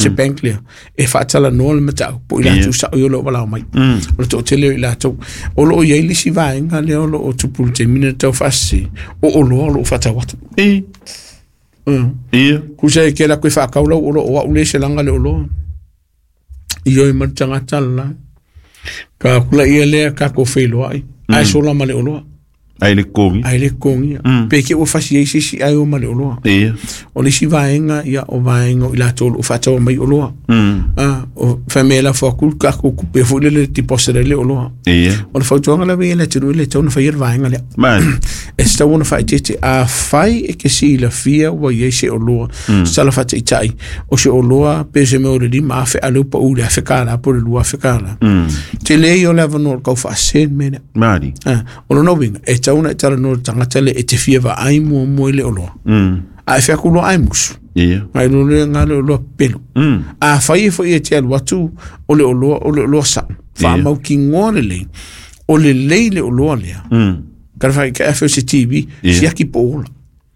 Se bank lea e faatalanoa le mataupu i latou sao ia o lo o valaau mai. O le toatele o i latou. O lo o i ai le isi vaega lea o lo o tupu i le taimi lenei tau faasese, o oloa o lo o faatau atu. Tusa e te alu atu e faatau lau oloa, o au lea e selaga le oloa. Ioe mai le tagata le la. Ka atu laia lea tatou feiloai, ae sola ma le oloa. Ae le totogia. Ae le totogia. Pe te i ua fasi ai se isi ae o ma le oloa. O le isi vaega, ia, o vaega o i latou o lo o faataua mai oloa. O fai mea e lafo atu le tatou tupe foi lele e deposit ai le oloa. O le fautuaga lava ia i le atunuu e le tatau ona faia le vaega lea. E tatau ona faaeteete. Afai e te silafia ua i ai se oloa, se tala faataitai, o se oloa pe se mea o le $5,000 a o lea ua pau i le $1,000 po o le $2,000. Tele ia o le avanoa o le tau faasese le mea lea. O lona uiga, e tatau ona e talanoa i le tagata lea e te fia vaai muamua i le oloa. A e fai atu loa ai musu, nai lo lea nga le oloa pepelo. Afai e foi e te alu atu o le oloa, o le oloa sao, faamautinoa lelei, o lelei le oloa lea. Ka whai, ka awhi o se TV, siaki po ola.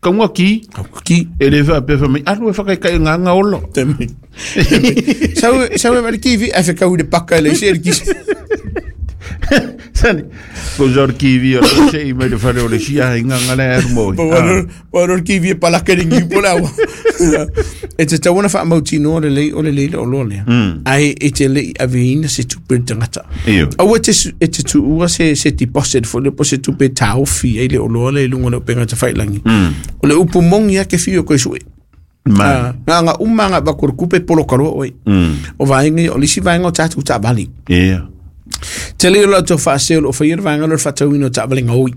Kaunga ki. Kaunga ki. E le wha pea wha mai, alu e whakaikai ngā ngā ola. Te mai. Sau, sau e wale kiwi, e whakau i le paka e le isi e le kisi. Sani, ko zor kiwi o le se i mai le whare o le sia hai ngā ngā le aru moi. Po waro kiwi e palaka ni ngiu po le awa. E te tau ona whaamautinoa le lei o le lei le oloa lea. Ai e te lei aveina se tupe le tagata. Aua e te, e te tuua se, se deposit foi le po se tupe taofi ai le oloa lea i luga o le upega tafailangi. O le upu moni lava ke fiu e koe sue. Nga nga uma nga avatu o le tupe poloka loa oe. O vaega ia, o le isi vaega o tatou taavale. Tele ia o latou faasee o lo o faia le vaega lea o le faatauina o taavale gaoi.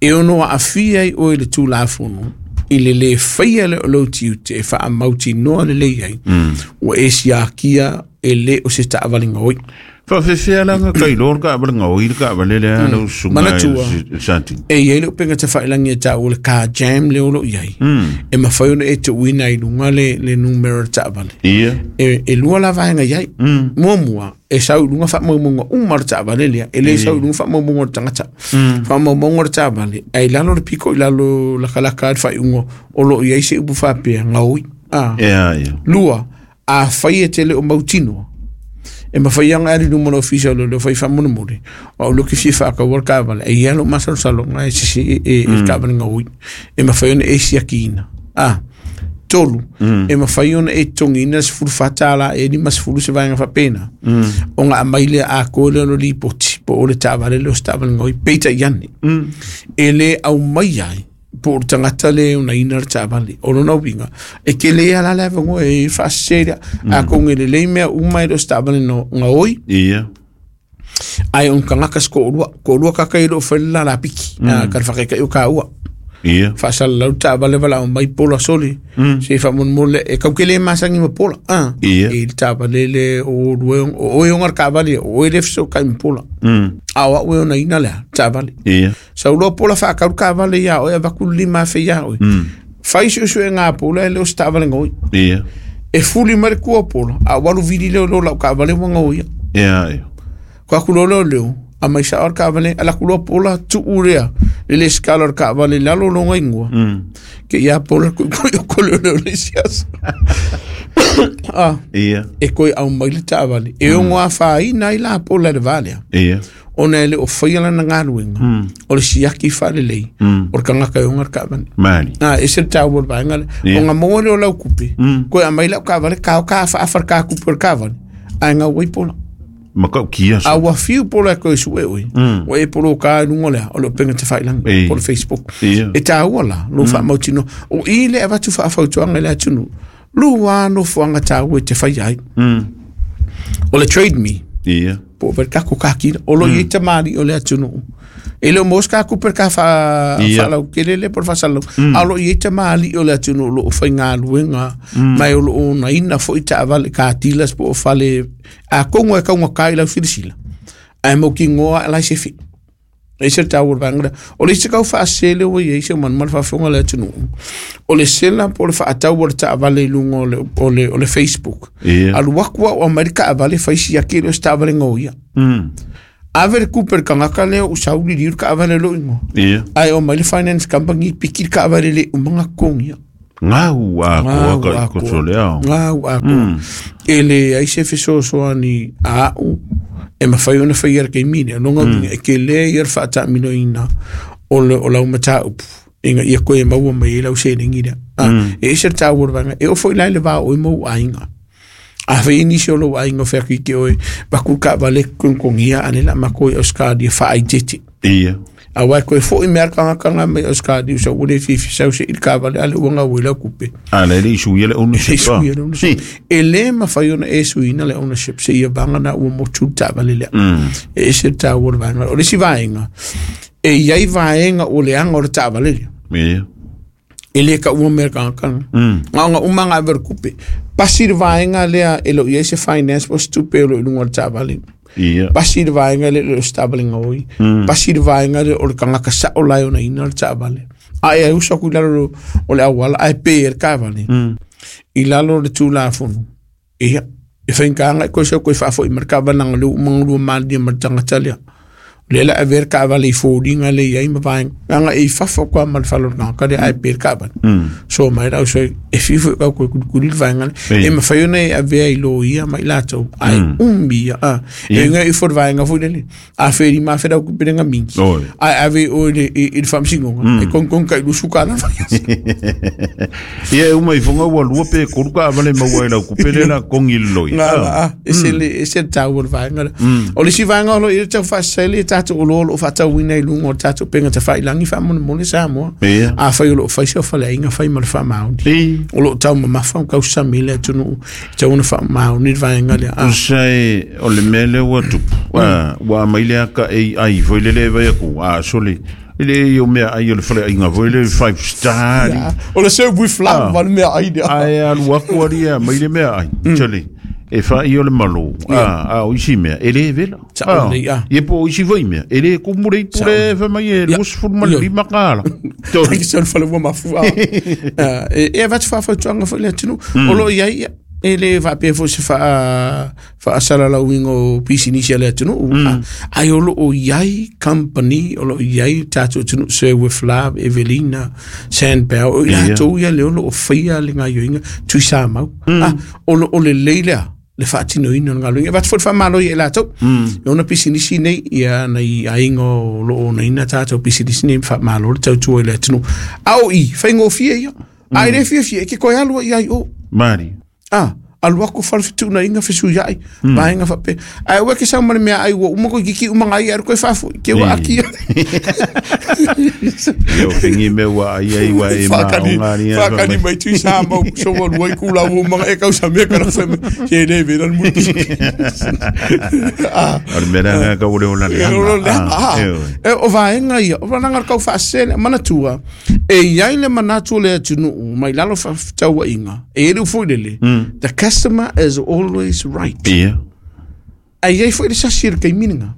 E ono aafia ai oe i le Tulafono i le lē faia lea o lou tiute e faamautinoa lelei ai ua e siakia e lē o se taavale gaoi. Faafefea la nga kailoa le taavale gaoi le taavale lea lau susuga Manatua. e Sati. E i ai le upega tafailangi e taua le car jam lea o lo o i ai. E mafai ona e tuuina ai i luga le, le numera o le taavale. E lua la vaega i ai. Muamua, e sau i luga faamaumauga uma o le taavale lea. E le sau i luga faamaumauga o le tagata. Faamaumauga o le taavale, ae i lalo le piko i lalo lakalaka ai le faaiuga o lo o i ai se upu faapea, gaoi. Lua, afai e te le o mautinoa, e mafai lava ona e alu i luma o le ofisa o leoleo fai faamolemole, o au lea ou te fia faataua le taavale, e i ai lou masalosaloga e sese e le taavale gaoi, e mafai ona e siakiina. Tolu, e mafai ona e totogiina le $14 e 50 se vaega faapena, ona aumai lea atoa lea o le lipoti po o le taavale lea o se taavale gaoi, peitai ane, e le aumaia ai po o le tagata lea e onaina le taavale. O lona uiga, e tele lava la le avanoa e faasese lea. Atonu e lelei mea uma e le o se taavale gaoi. Ae o ni tagata se toalua, toalua tagata ia e le o fai le lalapiki, ka le faataitai o taua. Faasalalau le taavale valaau mai pola sole, se i faamolemole, e tau te le masani ma pola. I le taavale le o lua, o oe ona le taavale, o oe le fesootai ma pola. A o au e onaina le a, taavale. Sau loa pola faatau le taavale ia oe, avatu le $5,000 ia oe. Fai suesuega a pola e le o se taavale gaoi. E fuli mai le tua o pola, a ua alu vili lea o lau taavale ua gaoia. Ko aku loa lea o leo, aumai sao le taavale, ala atu loa pola, tuu lea, le lesitala o le taavale i lalo o lona igoa. Ke ia pola kuikui o ko leo leo le isi aso. E toe aumai le taavale. E ono afaina ai la pola i le va lea. Ona e le o faia lana galuega, o le siaki faalelei, o le tagata e ona le taavale. E ese le taua o le vaega lea. Ona maua lea o lau tupe, toe aumai lau taavale, ta o ta afaafa le ta tupe o le taavale, ae gau ai pola. Ma tautia A ua fiu pola e toe sue oe, ua e poloka ai luga o le a, o le upega tafailagi, po o le Facebook. E taua la, lou faamautinoa. O i le avatu faafautuaga i le atunuu, lua nofoaga taua e te faia ai. O le Trade Me, po o le tatou kakila, o lo o i ai tamalii o le atunuu. E le o maua se ta tupe le ta faalautele lea po o le faasalalau, a o lo o i ai tamalii o le atunuu o lo o faigaluega, ma o lo o onaina foi taavale, car dealers po o fale, atonu e taugata i lau silasila, ae mautinoa lava e sefe. E ese le taua o le vaega lea. O le isi tau faasese lea ua i ai si ou manumanu faafofoga le atunuu, o le sela po o le faatau o le taavale i luga o le, o le, o le Facebook. Alu atu au aumai le taavale fai siaki e le o se taavale gaoia. Ave le tupe i le tagata lea ua sau liliu le taavale i lou igoa. Ae omai le finance company piki le taavale le uma ona totogia. Gau atoa ka i koso le ao. Gau atoa. E leai se fesoasoani a a'u e mafai ona faia i le taimi lea. O lona uiga, e tele ia le faataamiloina o le o lau mataupu ina ia toe maua mai ai lau seleni lea. E ese le taua o le vaega. E oo foi la i le va o oe ma ou aiga. A fai ai nisi o lou aiga o feaki te oe, vaku le taavale togotogia a o lea o le a matou o i Ausetalia faaeitete. Ia. Aua e toe foi mai lava le tagata lena mai Ausetalia sau ua le fiafia sau se i le taavale a lea ua gau ai lau tupe. A la e le i suia le ownership. E le suia le ownership. E le mafai ona e suiina le ownership seia vagana ua motu le taavale lea. E ese le taua o le vaega. O le isi vaega, e i ai vaega ua leaga o le taavale lea. Ia. E le taua mea tagata. Na ona uma ona ave o le tupe. Pasi le vaega lea e le o i ai se finance po o se tupe o lo o i luga o le taavale. Ia. Pasi le vaega lea e le o se taavale gaoi. Pasi le vaega lea o le tagata sao la e onaina le taavale. A e uso atu i lalo o le auala ae pe ai le taavale i lalo o le Tulafono. Ia, e faigata ona e toe sau toe faafoi mai le taavale leaga o lea ua uma ona lua malilie ma le tagata lea. O lea o le a avea le taavale i foliga lea e i ai ma vaega, leaga e i fafo atu lava ma le fale o le tagata lea ae pe le taavale. So mai le ausoi, e fiu foi tau toe kulikuli le vaega lea. E mafai ona e avea i loia ma i latou, ae umi ia. E uiga ifo le vaega foi lele, a fe 5000 lau tupe le gamigi, ae ave i o i le, i, i le faamasinoga, e togitogi tai $20 le vaiaso. Ia e uma ifoga ua lua pe tolu taavale maua ai lau tupe lea o le a totogi i le loia. Nga la, ah, ese le, ese le taua o le vaega lea. O le isi vaega o lo o i ai le tau faasese le tatou oloa o lo o faatauina i luga o le tatou upega tafailagi faamolemole Samoa. Ia. Afai o lo o fai se faleaiga, fai ma le faamaoni. Ei. O lo o taumamafa ma tausami le atunuu e tatau ona faamaoni le vaega lea. Ah. Tusa e o le mea lea ua tupu, ua aumai le ata AI foi lele e vaai atu, a sole, e le i o meaai o le faleaiga foi lele five star. Yeah. O le serve with love ah. le meaai lea. Ae alu atu ali e aumai le meaai. Sole, e fai o le malo, a o isi mea, e le vela. Sao lelei, ah. Ia po o isi foi mea, e le kumu le ipu le fai mai e $25. Ai ke se fale ua mafu ah. Ah, e avatu faafautuaga foi le atunuu. O lo o i ai ia, e le faapea foi se faa faasalalauina o pisinisi a le atunuu. Ah, ai o lo o i ai company, o lo o i ai tatou atunuu, Sir with Love, Evelina, Sandbell, o i latou ia lea o lo o faia le gaoioiga Tuisamau. Ah, o lo o lelei lea le faatinoina o le galuega. E avatu foi le faamalo ia i latou. E ona pisinisi nei, ia nai aiga o lo o onaina tatou pisinisi nei, faamalo le tautua i le atunuu. A o i, faigofie ia. A e le fiafia, e ke toe alu ai i o. Mari. Ah, alu atu fale fetuunaiga fesuiai, vaega faapea. Ae aua e ke sau ma le meaai ua uma toeitiiti uma nai ae alu toe faafoi, te ua aki ia. Ia o fengi mea ua ai ai ua e Whakani, maonga ni whakani mai tui sa mau so ua lua i kula ua manga e kausa mea kana whai mai ke le vela le muti. Ah, O le mea lea ka ule ola le e olo le anga. ah, E oe. e o vaega ia, o valanga le kau whaasene, manatua, e iai le manatu o le atunuu mai lalo whaafetauaiga, e i le ufo i lele, the customer is always right. Ia. Ae i ai foi le sasi i le taimi lena.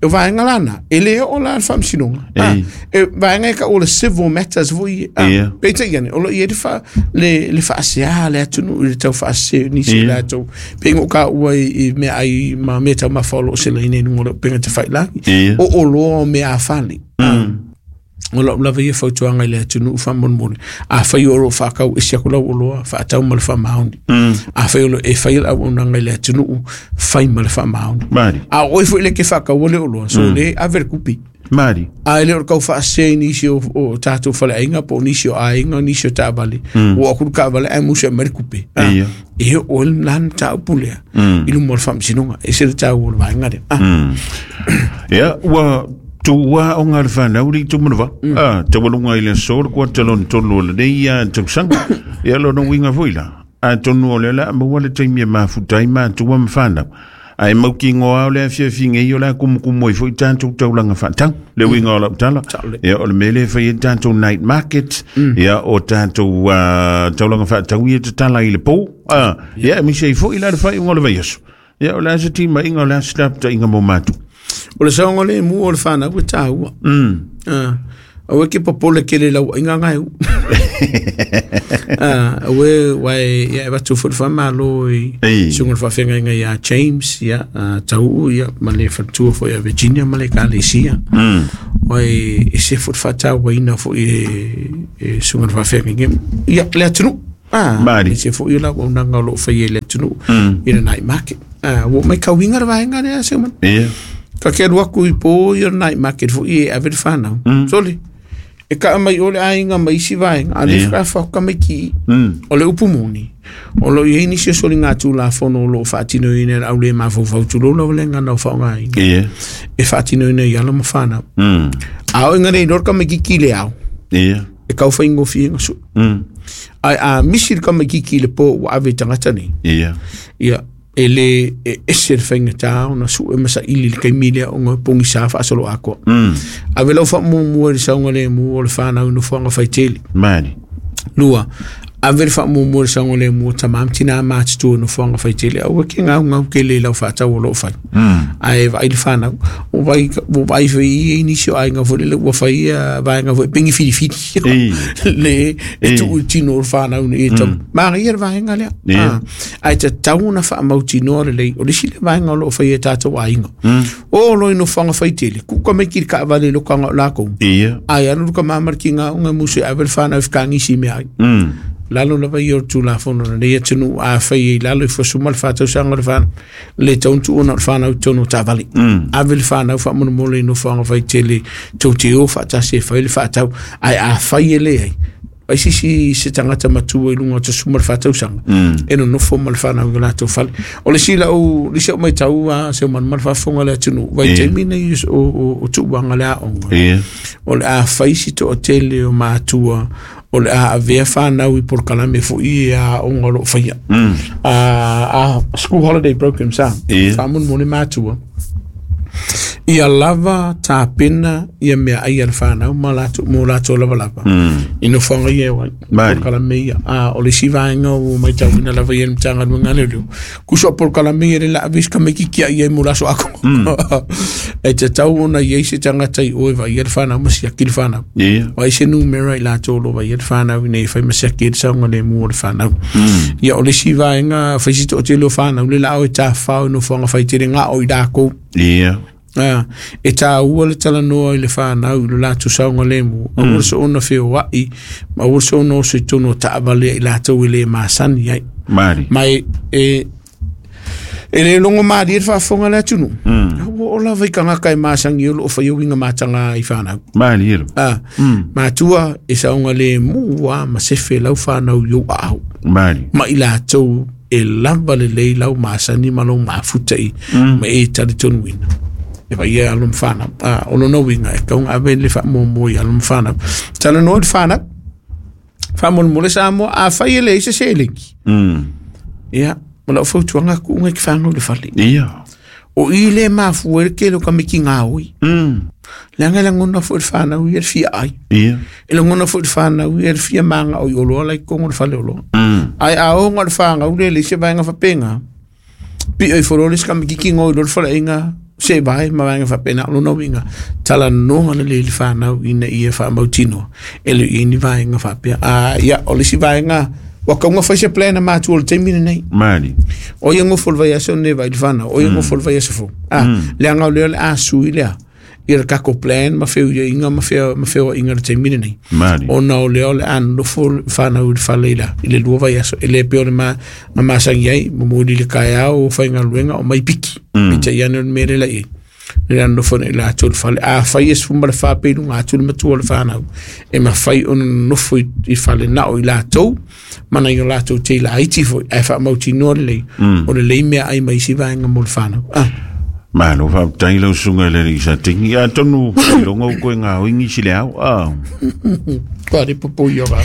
E o vaega la na, e le oo la le faamasinoga. Ah, Ei. e vaega e taua o le civil matters foi ia. Ah, Ia. peitai ane, o lo o i ai le faa, le, le faasea a le atunuu i le tau faasese o nisi o Ia. latou. Pei ona ou taua i, i meaai ma meataumafa o lo o selaina i luga o le upega tafailagi. Ia. O oloa o meafale. Ah, o lau lava ia fautuaga i le atunuu faamolemole, afai o lo o faatau ese atu lau oloa, faatau ma le faamaoni. Afai o lo e faia le auaunaga i le atunuu, fai ma le faamaoni. Mari. A o oe foi lea e te faataua le oloa, so lea ave le tupe. Mari. A e le o le tau faasese i nisi o, o tatou faleaiga po o nisi o aiga, nisi o taavale. Ua oo atu le taavale ae musu e aumai le tupe. Ah, Ia. e oo ai la le mataupu lea i luma o le faamasinoga. E ese le taua o le vaega lea. Ah. Ia, ua tuua aoga a le fanau le itu manava. Ah, taualuga i le aso le kuata lona tolu o lenei tausaga. Ia lona uiga foi la. Atonu o lea o le a maua le taimi e mafuta ai matua ma fanau. Ae mautinoa o le afiafi nei o le a kumukumu ai foi tatou taulaga faatau. Le uiga o lau tala. Saole. Ia o le mea lea e fai ai tatou night market. Ia o tatou taulaga faatau ia e tatala i le po. Ah, ia e misi ai foi la le faaiuga o le vaiaso. Ia o le a se timaiga o le a se lapataiga mo matou. O le saogalemu o le fanau e taua. Ah, aua e ke popole tele i lau aiga gae u. Ah, aua e uae ia e avatu foi le faamalo i Ei. susuga i le faafeagaiga ia James, ia, ah, Tauu, ia, ma le faletua foi ia Virginia ma le ekalesia. Ai e se fo faatauaina foʻi e suga le faafeagaiga ia le atunuu. Mali. E se foʻi o le auaunaga o loo faia i le atunuu i le night market. Ua ou maitauina le vaega lea Seumanu. Ta te alu atu i po ia o le night market foʻi e ave le fanau. Sole, e kaa mai o le aiga ma isi vaega, a le faatoa tamaiti i. O le upu moni, o lo o i ai nisi o soligatulafono o lo o faatinoina e le au le mafaufau tulou lava le gagana o faaaogaina. E faatinoina i alo ma fanau. A oo ina le iloa le tamaitiiti i le ao, e tau faigofie ona sui. Ae a misi le tamaitiiti i le po ua ave i tagata nei, ia e le e ese le faigata ona sue ma saili i le taimi lea ona e pogisa faasoloatoa. Ave lau faamuamua i le saogalemu o le fanau i nofoaga faitele. Mali. Lua, ave le faamuamua i le saogalemu o tama ma tina matutua i nofoaga faitele. Aua e te gaugau tele i lau faatau o lo o fai. Ae vaai le fanau. Ua vaai foi i ai nisi o aiga foi lele ua fai vaega foi pei ni filifili. Le e tuu i tino o le fanau nei e tau. Manaia le vaega lea. Ae tatau ona faamautinoa lelei. O le isi lea vaega o lo o faia e tatou aiga. O lo i nofoaga faitele, tuu tamaiti i le taavale i lokaga o lakou. Ae alu le tama ma le tiga ona e musu e ave le fanau e fetagisi i meaai. Lalo lava ia o le Tulafono a lenei atunuu, a fai ai lalo i fuasuma le 4 tausaga o le fanau, le tatau ona tuu ona o le fanau i totonu o taavale. Ave le fanau faamolemole i nofoaga faitele tou te o faatasi e fai le faatau. Ae a fai e leai, ai sisi se tagata matua i luga o le 14 tausaga e nonofo ma le fanau i o latou fale. O le isi lau, le isi au maitau a Seumanu ma le faafofoga a le atunuu, vaitaimi nei o tuuaga le aoga. O le a fai si toatele o matua o le a avea fanau i polokalame foʻi e aoga o loo faia. School holiday program sa. Faamolemole matua. Ia lava tapena ia mea ai a le fanau ma latou, mo latou lavalava i nofoaga ia e o ai. Mali. Polokalame ia. O le isi vaega ua maitauina lava ia i le Matagaluega a Leoleo. Tusa o polokalame ia le la ave isi tamaitiiti ai mo le aso atoa. E tatau ona i ai se tagata i o e vaaia le fanau ma siaki le fanau. O ai se numera i latou o lo o vaaia le fanau ina ia fai ma siaki ai le saogalemu o le fanau. Ia o le isi vaega fai si toatele o fanau le la o e tafafao i nofoaga faitele na o i lakou. E taua le talanoa i le fanau i lo latou saogalemu, aua le soona feoai, ma aua le soona oso i totonu o taavale i latou e le masani ai. Mali. Ma e le logo malie le faafofoga a le atunuu. Ua oo lava i tagata e masani o lo o faia uiga mataga i fanau. Mali elo. Matua e saogalemu a ma sefe lau fanau i ou aao. Mali. Ma i latou e lava lelei lau masani ma lau mafuta i ma e talitonuina. E vaia alo ma fanau. O lona uiga e tatau ona ave le faamuamua i alo ma fanau. Talanoa i le fanau. Faamolemole Samoa, a fai e leai se seleni. Ia, ma lau fautuaga tuuga i te fanau i le fale. O i le mafua ai le tele o tamaiti gaoi. Leaga e lagona foi le fanau ia le fia ai. E lagona foi le fanau ia le fia maga o i oloa la i totonu o le fale oloa. Ae a oo na o le fanau le leai se vaega faapena, pio ifo loa le isi tamaitiiti go i loa le faleaiga se vae ma vaega faapena. O lona uiga, talanoa lelei i le fanau ina ia faamautinoa e le o i ai ni vaega faapea. Ia, o le isi vaega, ua tatau ona fai se plan a matua o le taimi lenei. Mali. O ia nofo le vaiaso lenei vaai le fanau, o ia nofo le vaiaso fou. Leaga o lea o le a sui lea ia le tatou plan ma feuiaiga ma fea ma feoaiga i le taimi lenei. Mali. Ona o lea o le a nofo le fanau i le fale i le 2 vaiaso. E le pei o le ma masani ai, momoli i le taeao o faigaluega o mai piki. Peitai ane o le mea lea la i ai. Le a nofo nei latou i le fale. A fai e 14 pe i luga atu le matua o le fanau, e mafai ona nofo i fale na o i latou, ma nai o latou tei laiti foi, ae faamautinoa lelei, o lelei mea ai ma isi vaega mo le fanau. Malo faafetai lau susuga i le alii Satini. Atonu iloga ua toe gaoi nisi le ao. Kua re popo i o rā.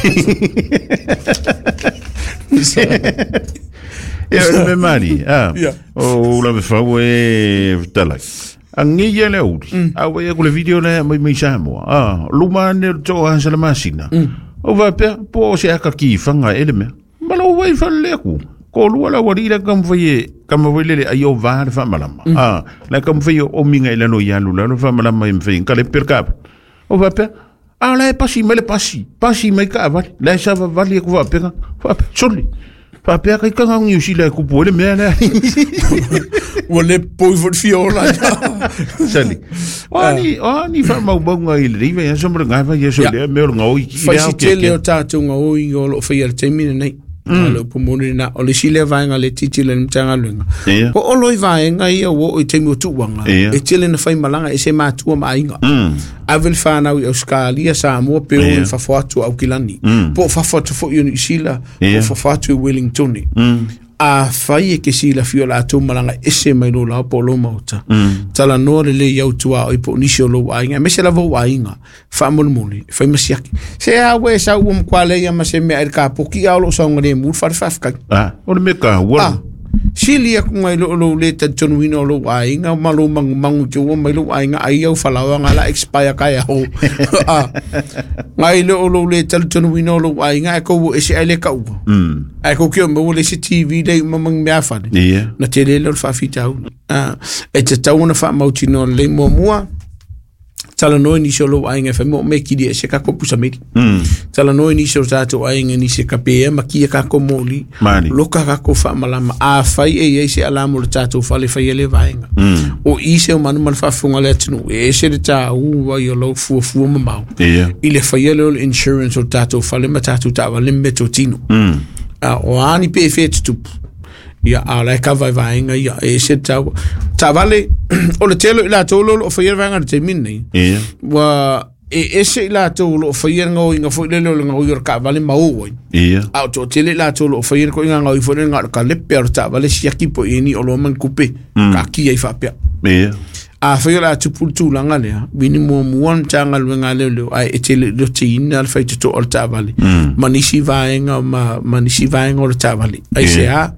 Ia o le mea mali. O ula fau e talai. Angi ia le auli. A ua ia ku le video le mai mai Samoa. Luma ane o le too a sa le masina. O faapea, po o se aka ki whanga e le mea. Ma lo wai whale le aku. Ko lua la wari la kam fai e kam fai le ai o va le whamalama. La kam fai o minga i lalo i alu lalo whamalama i mwhai. Ka le per ka. O faapea, a la e pasi mai le pasi. Pasi mai ka avali. La e sa vavali e ku faapea. Faapea, soli. Faapea kai kanga Niu Sila e kupu ai le mea lea. Ua le poi foi le fia ola. Sali. O ani, o ani faamaumauga i lenei vaiaso ma le gai vaiaso Ia. lea mea o le gaoi i Fai le si ao tele tiatia. o tātou gaoi o loo faia i le taimi lenei. O le upu moni lena. O le isi lea vaega le tilotilo i le Matagaluega. Ia. Po o lo i vaega ia ua oo i taimi o tuuaga. Ia. E tele na fai malaga e se matua ma aiga. Ave le whanau i Australia, Samoa, pe o Ia. i fafo atu o Aukilani. Po o fafo atu foi o Niu Sila, po Ia. o fafo atu i Wellington. A fai e ke silafia o latou malaga ese mai lo lao po o lo maota. Talanoa lelei au tuaoi po o nisi o lou aiga, aemaise lava ou aiga, faamolemole, fai ma siaki. Se a ua e sau ua matua leai ma se mea i le kapoki a o loo saogalemu le fale faafetai. Ah, o le mea taua. Ah, sili aku ngai lo lo le talitonuina o lou aiga ma lou magumagu i te ua mai lou aiga ai au falaoaga la expire kai ao. Ah, ngai lo lo le talitonuina o lou aiga ai kou ese ai le kaua. Ai kou ke o maua le isi TV le uma ma mea fale. Ia. Na tele lea o le faafitauli. Ah, e tatau ona faamautinoa lelei muamua, talanoa i nisi o lou aiga e fai mo me kili e se kako pusameli. Talanoa i nisi o tātou aiga nisi e kapea ma kia kako moli. Mani. Loka kako whaamalama. A whai e iei se alamo le tātou whale whai ele vaenga. O i se o manu ma le faafofoga le atunuu. E ese le tāua i o lau fuafua mamao. Ia. I le whai ele o le insurance o tātou whale ma tātou taavale me tō tino. A, o ani pe whē tutupu. Ia, a la e kava i vaenga ia. E ese le tāua. Taavale, o le tele i latou lo o whai ele vaenga le taimi nei. Ia. Ua e ese i latou o loo faia le gaoiga foi lele o le gaoi o le taavale ma o ai. Ia. A o toatele i latou o loo faia le koiga gaoi foi lele na o le kalepe a o le taavale siaki po i eni o loa ma ni kupe. Kaakia ai faapea. Ia. A fai o le a tupu le tulaga lea, vini muamua le Matagaluega a leoleo, ae e tele lotiina le faitotoa o le taavale. Ma nisi vaega ma nisi vaega o le taavale. Ai se a,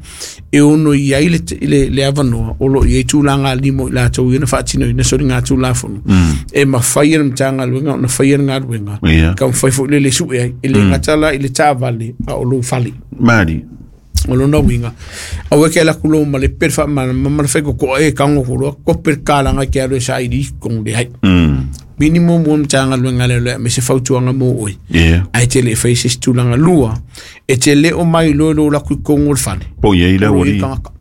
e ono i ai le avanoa, o loo i ai tulaga alii mo i latou ia na faatinoina soliga tulafono. E mafai e le Matagaluega ona faia le galuega. Ia. Ka mafai foi le le sue ai, e le gata la i le taavale, a o lou fale. Mali. O lona uiga, aua ke ala ku lou ma le pere faamalama ma le faikokoa e kago kuloa, kope le kalaga i ke alo e saili i kogo leai. Minimum ua Matagaluega lea me se fautuaga mo oe. Ia. Ae tele e fai se isi tulaga lua, e te le o mai loa i lou laku i kogo o le fale. Po i ai la O loo ua i li. tagata.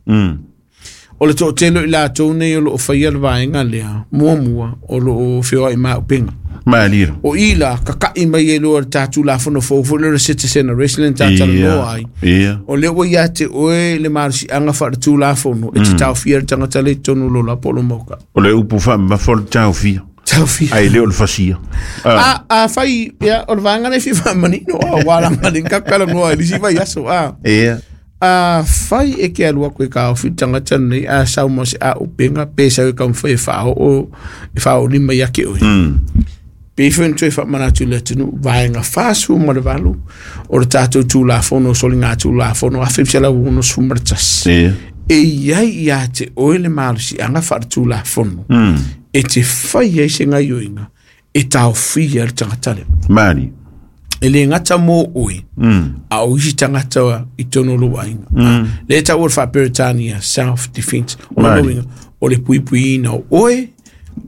O le toatele i latou nei o loo faia le vaega lea, muamua o loo feoai maaupega. Mali. O i la, kaka'i mai e loa le tatou lafono fou foi lea o le citizen arrest le na talanoa ai. Ia. O lea ua ia te oe le malosiaga faaletulafono e te taofia le tagata le i totonu o lo la po o lo maoka. O le upu faamamafa o le taofia. Taofia. Ai le o le fasia. A, a fai, ia, o le vaega lea e fia faamanino, a, ua laga le kakalanoa i le isi vaiaso, a. Ia. A fai e ke alu aku e kaofi le tagata lenei, a sau ma se auupega, pe sau e taumafai e faaoo, e faaolima ia te oe. Pe foi ona toe faamanatu i le atunuu, vaega 48 o le tatou tulafono o soliga tulafono 1961. Ia. E iai ia te oe le malosiaga faaletulafono. E te fai ai se gaioiga, e taofia le tagata lea. Mali. E le gata mo oe, a o isi tagata i totonu o lou aiga. Le taua le faaperetania, self defense. O lona Mali. uiga, o le puipuiina o oe,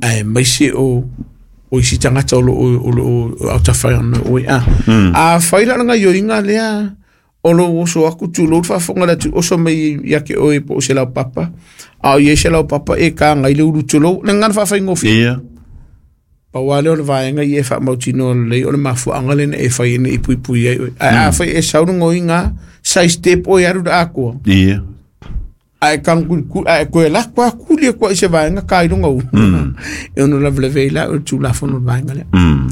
ae maise o o isi tagata o loo autafai ona oe. A, a fai la le gaioiga lea, o lou oso aku tulou le faafofoga le atu oso mai ia ke oe po o se laupapa. A o iai se laupapa e kagai le ulu tulou, le gagana faafaigofie. Ia. Pau lea o le vaega ia e faamautinoa lelei o le mafuaaga lena e fai ai nei puipui ai oe. Ae a fai e sau le goiga, side step oe alu le akoa. Ia. Ae kagukulikuli, ae koe lako a kuli e koa i se vaega ka i luga u. E ono lavelave ai la o le tulafono o le vaega lea.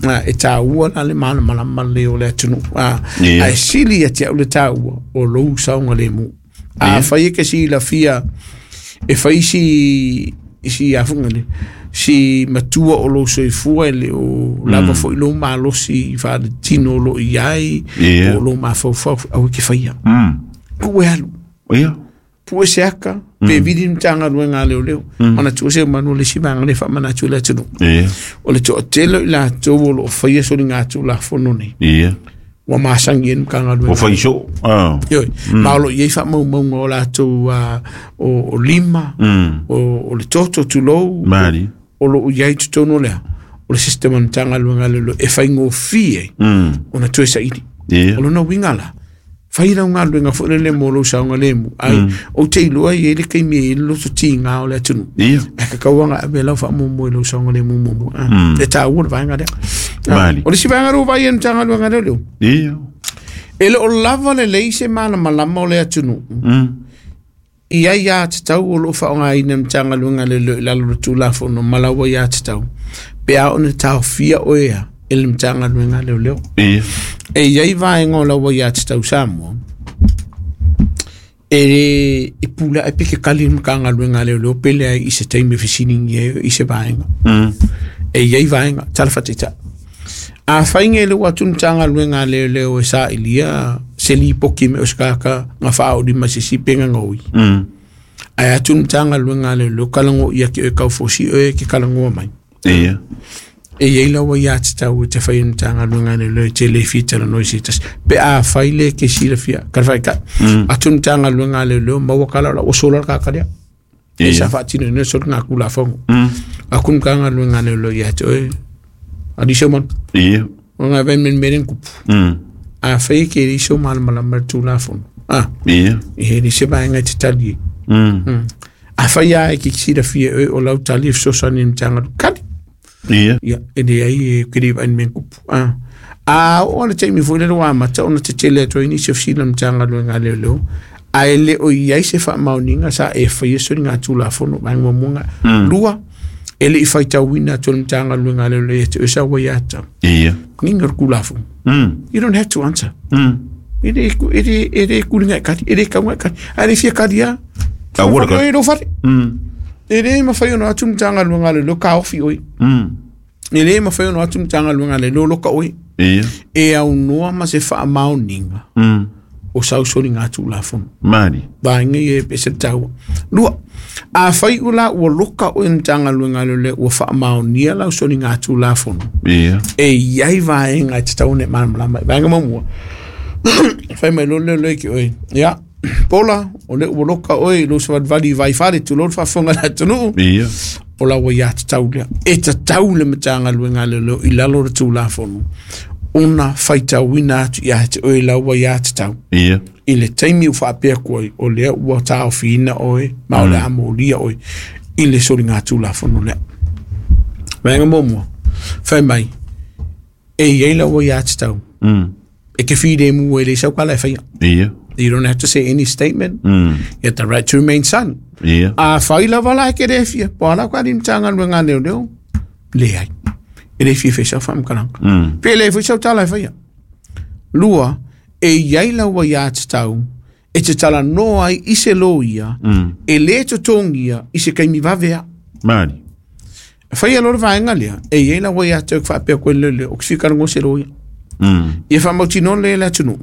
A, e tāua la le malamalama lelei o le atunuu. A, Ia. ae sili ia te au le tāua o lou saogalemu. A fai e ke silafia e fai si si afuga le si matua o lou soifua e le o lava foi lou malosi faaletino o loo i ai Ia. o lou mafaufau au e ke faia. Pue alu. Ia. Pue se aka, pe vili le Matagaluega a leoleo. Manatua se manu o le isi vaega le faamanatu i le atunuu. Ia. O le toatele i latou o loo faia soliga tulafono nei. Ia. Ua masagi ai le Matagaluega. O fai soo. Ah. Ioi, ma o loo i ai faamaumauga o latou o lima, o le toto tulou, Mali. o loo i ai totonu o lea. O le system a le Matagaluega a leoleo e faigofie ai ona toe saili. Ia. O lona uiga la, Fai lau galuega foi lele mo lou saogalemu ai ou te iloa e i ai le taimi e i ai le loto tiga o le atunuu Ia. ae tatau ona ave lau faamuamua i lou saogalemu muamua. E taua le vaega lea. Mali. O le isi vaega lea ua vaai ai le Matagaluega lea leo, Ia. e le o lava lelei se malamalama o le atunuu i aiā tatau o lo o faaaogaina e le Matagaluega a Leoleo i lalo o le Tulafono ma lau aiā tatau pe a ona taofia oe a e le Matagaluega a Leoleo. Ia. E i ai vaega o lau aiā tatau Samoa e e pule ae pe ke kali le Matagaluega a Leoleo pe leai i se taimi e fesiligia ai i se vaega. E i ai vaega, tala faataitai. A fai nei le ua atu le Matagaluega a Leoleo e sailia se lipoti me o se tagata na faaolima i se isi pe gagoi. Ae atu le Matagaluega a Leoleo kalago ia ke oe kaufosi oe ke kalagoa mai. Ia. E i ai lau aiā tatau e te fai e le Matagaluega a Leoleo e te le fia talanoa i se tasi. Pe a fai le ke silafia, kala whaitai. Atu le Matagaluega a Leoleo, maua kala o la ua sola le tagata lea. E sa faatino ina soli ngā kulafono. Aku le Matagaluega a Leoleo ia te oe, ali se manu. Ia. O ngā vai men meren kupu. A fai e ke le iso malamalama le tulafono. Ah, Ia. e he le se vaega i te tali e. A fai a e ke silafia e oe o lau tali e fesoasoani i le Matagaluega. Kali! Ia. Ia, e leai e ke le vaai mea kupu. Ah. A oo le taimi foi lele ua amata ona tetele atu ai nisi o fesili a le Matagaluega a Leoleo, ae le o i ai se faamaoniga sa e faia soliga Tulafono vaega muamua lena. Lua, e le i faitauina atu e le Matagaluega a Leoleo ia te oe sa ua ia tau. Ia. Nginga le Tulafono. You don't have to answer. E le, e le, e le kulinga e kali, e le kaunga e kali. A le fia kali a. A ua le kali. E lou fale. E le mafai ona atu le Matagaluega a Leoleo taofi oe. E le mafai ona atu le Matagaluega a Leoleo loka oe. Ia. E aunoa ma se faamaoniga o sau soliga Tulafono. Mali. Vaega ia e pese le taua. Lua, a fai o la ua loka oe le Matagaluega a Leoleo ua faamaonia lau soliga Tulafono, Ia. e i ai vaega e tatau ona e malamalama ai. Vaega muamua, fai mai loa le leoleo ki oe, ia, Pola, o lea ua loka oe i lou savalivali i Vaifale, tulou le faafofoga a le atunuu, Ia. o lau aiā tatau lea. E tatau le Matagaluega a Leoleo i lalo o le Tulafono ona faitauina atu ia te oe lau aiā tatau. Ia. I le taimi ua faapea atu ai, o lea ua taofiina oe ma o le a molia oe i le soliga Tulafono lea. Vaega muamua, fai mai, e i ai lau aiā tatau. E te filemu e le sau kala e whaia. Ia. You don't have to say any statement. You have the right to remain silent. Ia. A whai lava la e ke re fia, po ala ka rim tanga luenga leo leo, le ai. E le fia whaisau whamkaranga. Pe le whaisau tala e whaia. Lua, e iai lau aiā tatau, e te tala noa ai i se loia, e le totongia i se kaimi vavea. Mali. Whai alo le vaenga lea, e iai lau aiā tatau ki whaapea koe le leo, o ki whikarango se loia. Ia whamautino le le atunuu,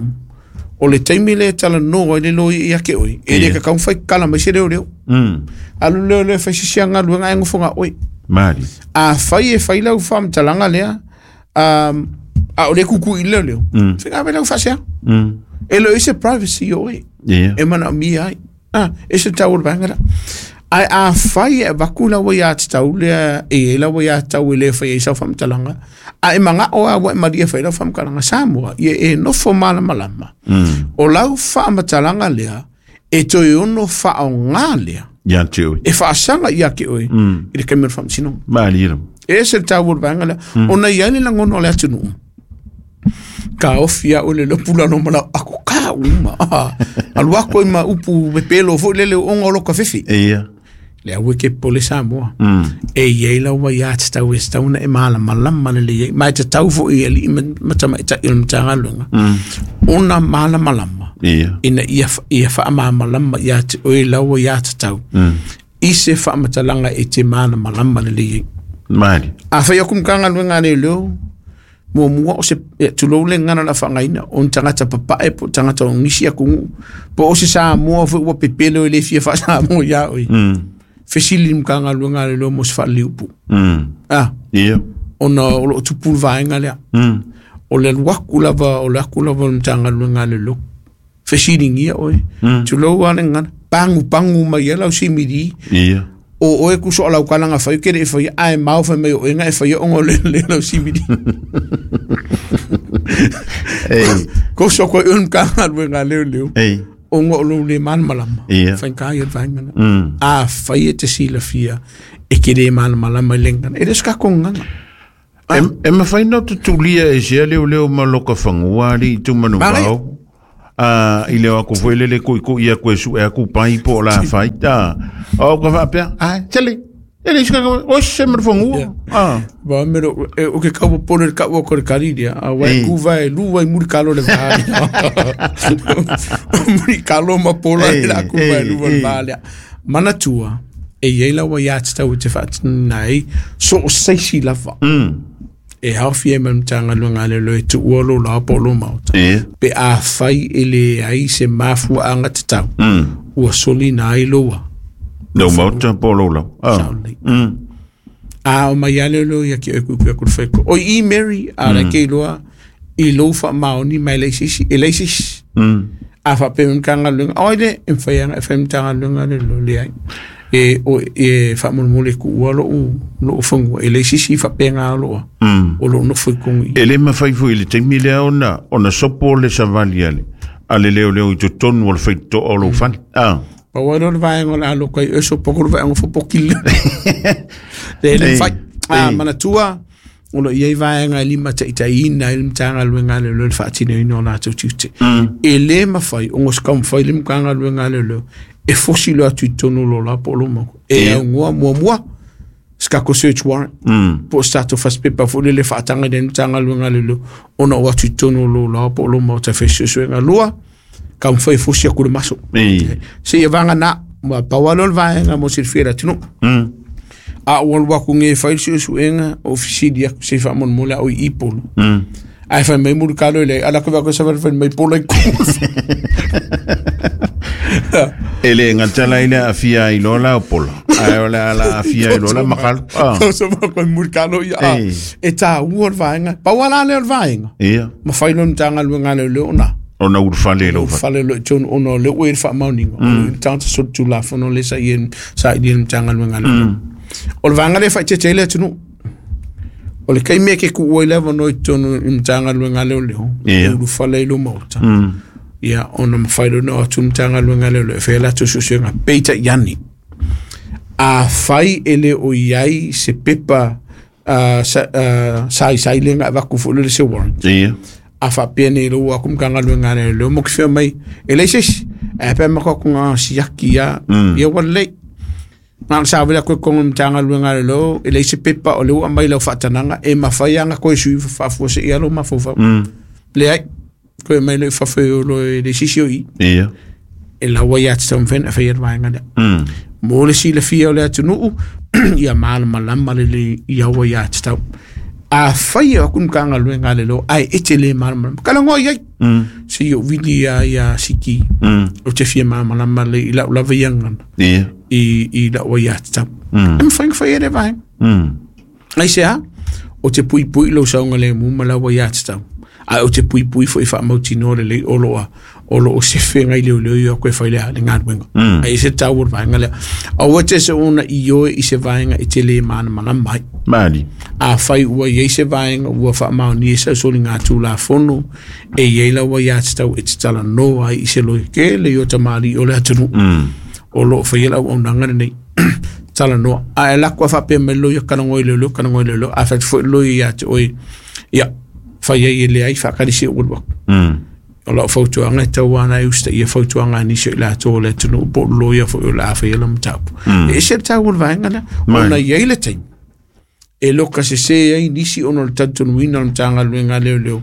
o le taimi le tala noa i le loia ia ke oe, e le Ia. kakau whai kala mai se leo leo. Alu leo leo whai sisi anga luenga e ngofonga oe. Mali. A whai e whai lau whamtalanga lea, a o le kuku i leo leo. Whenga we lau whasea. E lo ise privacy o oe. Ia. E mana o mi ai. Ah, e se tau o le vaenga la. Ai a whai e waku lau ia te tau lea, e e lau ia te tau e le whai e sau whamtalanga. A e manga o a wa e maria whai lau whamkalanga Samoa, ia e nofo malamalama. O lau whaamatalanga lea, e toi ono whaonga lea. Ia te oe. E whaasanga ia ke oe, i le kamera whamtino. Mali ira. E se tau o le vaenga lea. Ona ia ni langono le atunuu. Ka ofi a ole le pula no mala ako ka uma. Ah, alu ako i ma upu me pelo fo lele o onga o loka fefi. Ia. Le aue ke pole Samoa. E iei lau wai a te tau e se tauna e malamalama le le iei. Mai te tau fo i ali i matama i tai o le matagaluega. Ona malamalama. Ia. Ina ia ia whaamalamalama ia te oe lau wai a te tau. I se whaamatalanga e te malamalama le le iei. Mali. A whai aku mkanga luenga le leo, mua mua o se, e, tulou le ngana la whangaina, o ni tangata papae po tangata o ngisi aku ngu, po o se Samoa fo ua pepelo e le fia wha Samoa ia oi. Fesili mkanga luenga le leo mo se wha liupu. Ah, Ia. ona o lo tupu le vaenga lea. O le luaku lava, o le aku lava o le mtanga luenga le leo. Fesili ngia oi. Tulou ale ngana, pangu pangu mai e lau simiri. Ia. O oe kuso o lau kalanga whai, kere e whai, ae mau whai mai o enga e whai o ngo le le lau simiri. Ei. Ko so ko un ka galuega leoleo ona o lou le malamalama faigata ia le vaega lea. Afai e te silafia e te le malamalama i le gagana, e le o se tatou gagana. E mafai ona tutulia e sea leoleo ma loka fagua alii tumanuvao i le o atu foi lele tuitui atu e sue atu pai po o la fai. O ka faapea, ai, sele, e le isi ka o se ma le fagua. Ba me ro e o ke kau pole le kau ko le kariria a wai ku vai lu vai muri kalo le va. Muri kalo ma pola le ku vai lu vai va le. Manatua e iai laua ia te tau te whaatina ai so o seisi lava. E haofi ai ma le Matagaluega a Leoleo e tuua lo la po o lo maota. Pe a fai e le ai se mafuaaga tatau, ua solina ai loua. Lou maota po o lou lau. Sao lelei. A o mai a leoleo ia ki oe kuikui aku le whaiko. Oi i Mary, a la ke iloa i lou whaamaoni mai leai se isi, e leai se isi. A faapea mai Matagaluega, oi le, e mafai lava ona e fai Matagaluega le lo leai. E, o, e faamolemole e tuua lou, lou fanua, e leai se isi faapena o loo, o loo nofo i totonu i i. E le mafai foi i le taimi lea ona, ona sopo le savali a le, a le leoleo i totonu o le faitotoa o lou fale. Ah. Pau lava lea o le vaega o le a loka ai oe sopo atu le vaega fopokile. Le le mafai. A manatua, o lo o i ai vaega e limataitaiina ai le Matagaluega a Leoleo i le faatinoina o latou tiute. E le mafai ona se taumafai le Matagaluega a Leoleo e fosi loa atu i totonu o lo la po o lo mau. E aunoa muamua se tatou search warrant po o se tatou fasipepa foi lele e faataga i le Matagaluega a Leoleo ona o atu i totonu o lo la po o lo maota e fai suesuega. Lua, taumafai e fosi atu le maso. Seia vagana, ma pau lava lea o le vaega mo silafia e le atunuu. A ou alu atu nei e fai le suesuega, ou fesili atu se i faamolemole a o i i Polo. Ae fai mai Mulitalo e leai, ala atu i savali fai mai Polo i totonu. E le gata la i le aafia ai loa la o Polo, ae o le a la aafia ai loa la Makalo. Tausa ma koe Mulitalo ia. E tāua le vaega. Pau lava la lea o le vaega. Mafai loa le Matagaluega a Leoleo ona. Ona ulufale i lou fale. Ulufale loa i totonu ona o lea ua i ai le faamaoniga. O le tagata solitulafono lea sa i ai sa i le Matagaluega a Leoleo. O le vaega lea e faaeteete ai le atunuu. O le taimi e te tuu ai le avanoa i totonu i le Matagaluega a Leoleo, e ulufale ai lou maota, ia ona mafai loa ona o atu le Matagaluega a Leoleo e fai a latou suesuega. Peitai ane, afai e le o i ai se pepa saisai lea na avatu foi lele se warrant. A faapea nei lou aku Matagaluega a Leoleo mo ke fea mai, e leai se isi, ae pe ma ko ngā siaki ia, ia ua lelei. Na ona savali atu i totonu o le Matagaluega a Leoleo, e leai se pepa o lea ua aumai lau faatanaga e mafai lava ona toe sui faafuasei lava lou mafaufau. Leai, toe aumai loa i fafo e o loa e leai se isi o i i. E laua ia te taumafai ona faia le vaega lea. Mo le silafia o le atunuu, ia malamalama lelei i aua ia te tau. Afai e o atu le Matagaluega a Leoleo ae e te le malamalama, talanoa i ai. Se i ou vili ia ia Siki, ou te fia malamalama lelei i lau lava ia gagana. I lau aiatatau. E mafai ona fai e lea vaega. Aisea? O te puipui i lou saogalemu ma lau aiatatau, ae o te puipui foi faamautinoa lelei o lo o lo o sefe ngai leoleo i o atu e fai le, le galuega. Ae ese le taua o le vaega lea. Aua te se ona ioe i se vaega e te le malamalama ai. Mali. Afai ua i ai se vaega ua faamaonia i sau soligatulafono, e i ai lau aiatatau e te talanoa ai i se loia tele i o tamalii o le atunuu o lo o faia le auaunaga lenei. Talanoa. Ae alu atu a faapea mai le loia, talanoa i leoleo, talanoa i leoleo. A fai atu foi le loia ia te oe, ia, fai ai e leai, faatali se i ou alu atu. O lau fautuaga e tatau lava ona e usitaia fautuaga a nisi o i latou o le atunuu po o le loia foi o le a faia lau mataupu. E ese le taua o le vaega lea, ona e i ai le taimi e loka sese ai nisi ona o le talitonuina o le Matagaluega a Leoleo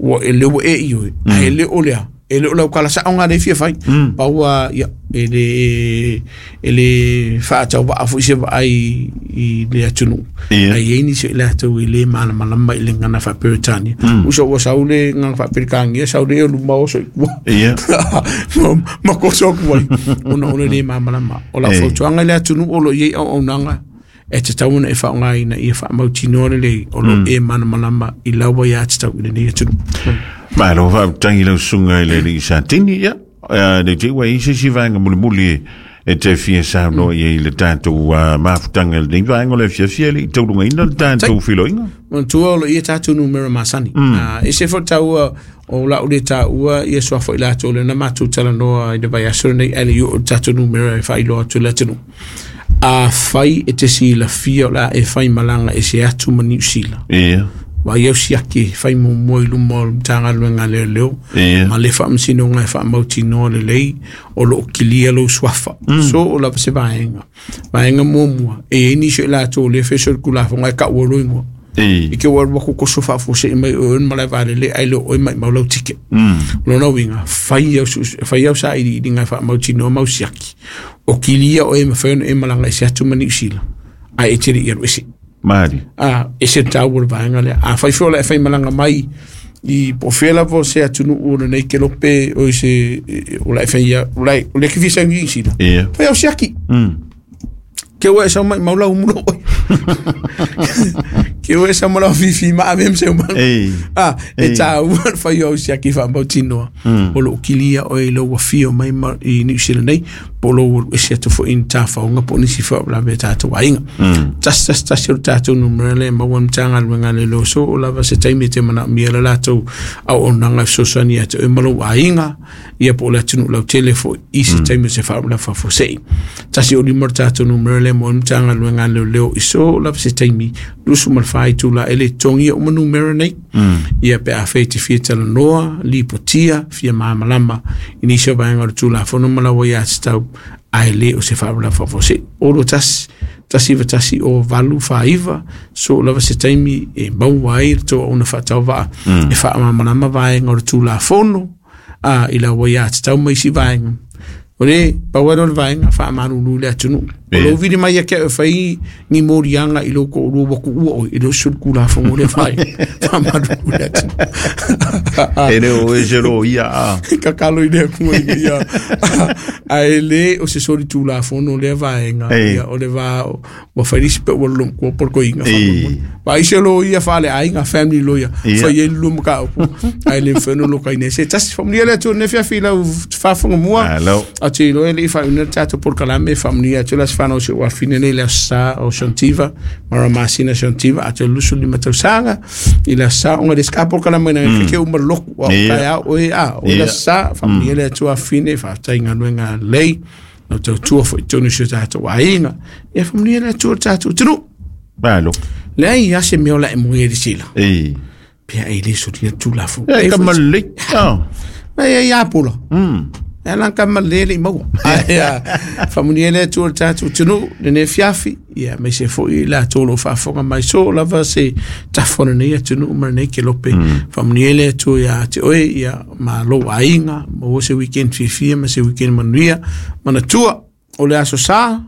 ua e lea ua e ioe, ae le o lea, e le o lau tala sao lena lea e fia fai. Pau lava, ia, e le faatauvaa foi se vaai i le atunuu. Ae i ai nisi o i latou e le malamalama i le gagana faa-Peretania. Uso ua sau le gagana faa-Peretania, sau le luma oso i tua. Ma koso atu ai, ona o le le malamalama. O lau fautuaga i le atunuu o lo o i ai auaunaga, e tatau ona e faaaogaina ia faamautinoa lelei o lo o e malamalama i lau aiatatau i lenei atunuu. Malo faafetai i lau susuga i le alii Satini. Ia, le te i ua i ai se isi vaega mulimuli E te fia saunoa i ai i le tatou mafutaga i lenei vaega o le afiafi e le i taulugaina le tatou feiloaiga. Manatua o lo o i ai tatou numera masani. E ese foi le taua o lau le taua ia suafa o i latou lea na matou talanoa i le vaiaso lenei ae le i oo i le tatou numera e faailoa atu i le atunuu. Afai e te silafia o le a e faimalaga ese atu ma Niu Sila. Ia. Vaai au siaki e fai muamua i luma o le Matagaluega a Leoleo Ia. ma le Faamasinoga e faamautinoa lelei o lo o kilia lou suafa. So o lava se vaega. Vaega muamua, e i ai nisi o i latou o lea e fai solitulafono ae tau ai loa igoa. I te ua alu atu toso faafuasei mai oe le malae vaalele ae le o oe maimau lau ticket. O lona uiga, fai au, fai au sailiiliga e faamautinoa mau siaki. O kilia oe e mafai ona e malaga ese atu ma Niu Sila, ae e te le i alu ese. Mali. A, ese le taua o le vaega lea. A fai foi o le e faimalaga mai i po o fea lava o se atunuu o lenei kelope o se o la e fai o la o le ke fia sau i Niu Sila. Fai au siaki. Ke ua e sau mai mau lau mulo oi. Ke ua e sau mau fifi ma ave se uma. Ah, e tāua le whai au siaki whaamautinoa. O loo kilia oe i lou afio mai ma, i Niu Sila nei, po o lou alu ese atu foi i ni tafaoga po o nisi foi o lave a tātou aiga. 111 o le tātou numera lea e maua i le Matagaluega a Leoleo so o lava se taimi e te manaomia le latou auaunaga e fesoasoani ia te oe ma lou aiga, ia po o le atunuu lautele foi i se taimi o se faalavelave faafuasei. 105 le tātou numera lea mo le Matagaluega a Leoleo i so lava se taimi 24 itula e le totogia uma numera nei. Ia pe afai e te fia talanoa, lipotia, fia malamalama i nisi o vaega o le Tulafono ma lau aiatatau, ae le o se faalavelave faafuasei. 021 191 o 849, so lava se taimi e maua ai le tou auauna faatauvaa e faamalamalama vaega o le Tulafono a i lau aiatatau ma isi vaega. O le pau lea o le vaega faamalulu i le atunuu. O lou vili mai ia te au e fai ni moliaga i lou toalua ua tuua oe, e le o se solitulafono lea vaega. Faamalulu i le atunuu. E le o e se loia a. Tatalo i le Atua ina ia ae le o se solitulafono lea vaega. Ia, o le va ua fai isi pe ua lolo matua po o le toeaina faamolemole. Vaai se loia faaleaiga, family lawyer, fai ai le lua mataupu, ae le mafai ona lokaina ai se tasi. Faamanuia le Atua i lenei afiafi i lau faafofoga mua. Malo. Ou te iloa e le i faaiuina le tatou polokalame, e faamanuia atu le Aso Fanau o si ou afafine nei i le Aso Sa o Shantiva, Mara Masina Shantiva, atoa i le 25 tausaga i le Aso Sa, ona e le se ka polokalame na ke uma le lotu, a o taeao oe, a o le Aso Sa, faamanuia le Atua afafine, faafetai i galuega lelei. Lau tautua foi i totonu o si o tatou aiga. Ia faamanuia le Atua i le tatou atunuu. Malo. Leai lava se mea o la e moe ai le sila. Ei. Pe a e le solia le Tulafono. E ka malelei. Ah. Ai ai apola. E lan ka malele le i maua. Ai a faamanuia le Atua i le tatou atunuu lenei afiafi. Ia aemaise foi i latou o lo o faafofoga mai so lava se tafa o lenei atunuu ma lenei kelope. Faamanuia le Atua ia te oe ia ma lou aiga, maua se weekend fiafia ma se weekend manuia. Manatua, o le aso sa,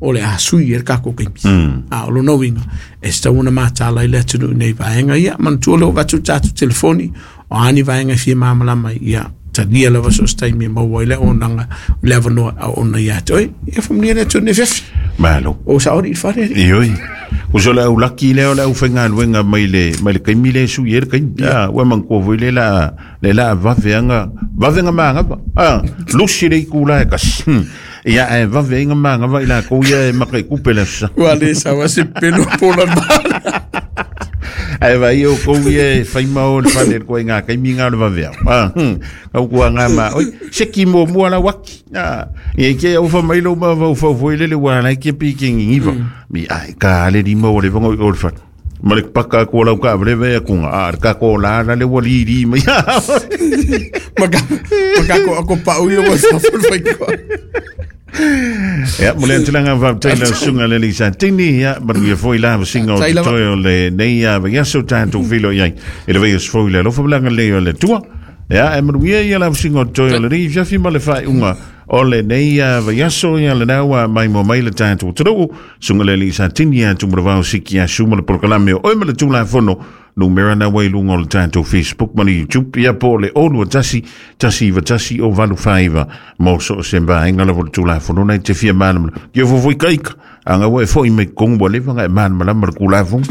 o le a sui e le tatou taimi. A o lona uiga, e tatau ona mataala i le atunuu i nei vaega ia. Manatua o lea ua avatu le tatou telefoni, o a ni vaega e fia malamalama ai, ia talia lava so o se taimi e maua ai le auaunaga, le avanoa e auauna ia te oe. Ia faamanuia le Atua i lenei afiafi. Malo. O saoli i le fale, alii. Ioe. Uso le au laki lea o le aufaigaluega mai le mai le taimi lea e sui ai le taimi. Ah, ua manatua foi le la le la vave anga vave nga manava. Ah, lusi le itula e tasi. Ia ae vave ai nga manava i latou ia e maka i kupe le aso sa. Ua le saua se pelo pola bala. Ae vai o kou ia e whai mao le fale le koe ngā kaimi ngā le vave au. Ah, kau kua ngā ma, oi, se ki mua mua la waki. Ah, ia ke au wha mai lo ma vau whau foi lele wā lai ke pi ke ngingiva. Mi ai, ka ale ni mau le vango i o le whare. Ma le paka ko lau ka vele vea kunga. Ah, ka ko la la le wa li li mai. Maka, maka ko ako pau i o sa fai ko. Ia, mo le antilanga faafetai lau susuga le alii Satini, ia, manuia foi la vasinga o Faafetai lava. totoe o lenei vaiaso tatou feiloai ai i le vaiaso fou i le alofa ma le agalelei o le Atua. Ia, e manuia ia la vasinga o totoe o lenei afiafi ma le faaiuga o lenei vaiaso, ia lena ua maimoa mai le tatou atunuu, susuga le alii Satini ia Tumalavao Siki Asu ma le polokalame o Oe ma le Tulafono, numera na ua i luga o le tatou Facebook ma le YouTube, ia po o le 021 191 o 85 mo so o se vaega lava o le Tulafono nei te fia malamalama. Kia fofoi ka ika, anga ua e foi mai totonu ua leva ona e malamalama le Tulafono.